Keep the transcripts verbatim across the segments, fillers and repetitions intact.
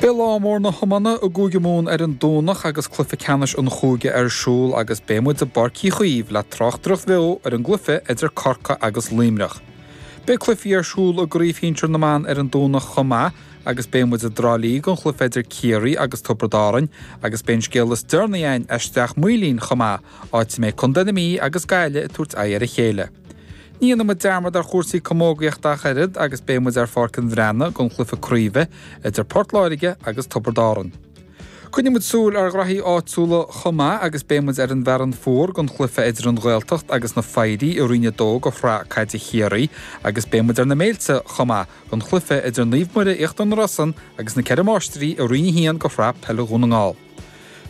Beidh lá mór na hiomána i gCúige Mumhan ar an Domhnach agus cluiche ceannais an chúige ar siúl agus beidh muid i bPáirc Uí Chaoimh le tráchtaireacht bheo ar an gcluiche idir Corcaigh agus Luimneach. Beidh cluichí ar siúl i gCraobh Shinsir na mBan ar an Domhnach chomh maith agus beidh muid i dTrá Lí don chluiche idir Ciarraí agus Tiobraid Árann agus beidh an scéal is deireanaí againn as Srath Maoilín chomh maith, áit a mbeidh Contae na Mí agus Gaillimh ag tabhairt aghaidh ar a chéile. Ní dhéanfaidh muid dearmad ar chúrsaí camógaíochta ach oiread agus beidh muid ar Pháirc an Bhreathnaigh don chluiche craoibhe idir Port Láirge agus Tiobraid Árann. Coinneoidh muid súil ar ghraithí áitiúla chomh maith agus beidh muid ar an bhFearann Fuar don chluiche idir an Ghaeltacht agus na Foidhrí i Roinn a dó de Shraith Caide Chiarraí agus beidh muid ar na Méilte chomh maith don chluiche idir Naomh Muire Íochtar na Rosann agus na Ceithre Máistrí i Roinn a haon de Shraith Peile Dhún na nGall.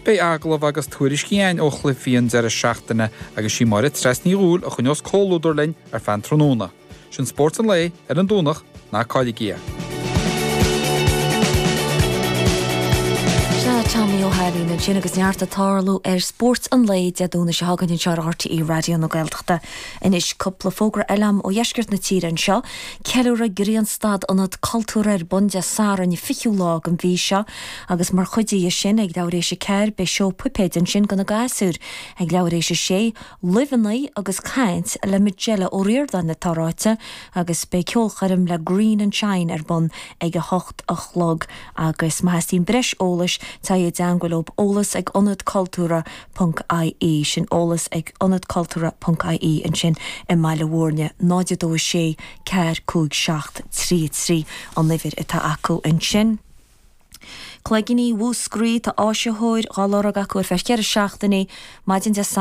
Beidh agallaimh agus tuairiscí againn ó chluichí an deireadh seachtaine agus sí Máire Treasa Ní Dhubhghaill a choinneos comhluadar linn ar feadh an tráthnóna. Sin Spórt an Lae ar an Domhnach, ná cailligí é. Sea, Tommy Ó hAilín ansin agus neart ag tarlú ar Spórt an Lae Dé Domhnaigh seo chugainn anseo ar RTÉ Raidió na Gaeltachta. Anois cúpla fógra eile agam ó dheisceart na tíre anseo. Ceiliúradh Grianstad Ionad Cultúrtha ar bun Dé Sathairn an fichiú lá den mhí seo agus mar chuid dhe sin ag leathuair éis a ceathair beidh seó puipéid ansin do na gasúir. Ag leathuair éis a sé, luibheanna agus caint le Majella Ó Ríordáin atá ráite agus beidh ceolchoirm le Green and Shine ar bun ag a hocht a chlog agus má theastaíonn breis eolais téigh i dteangmháil leo eolas ag Ionad Cultúrtha ponc ie sin eolas ag Ionad Cultúrtha ponc ie ansin i mBaile Mhúirne náid a dó a sé ceathair cúig seacht trí a trí an uimhir atá acu ansin. Cloigíní Mhúscraí, tá áisitheoir dhá lorg acu ar feadh ceithre seachtainí, maidin Dé Sathairn.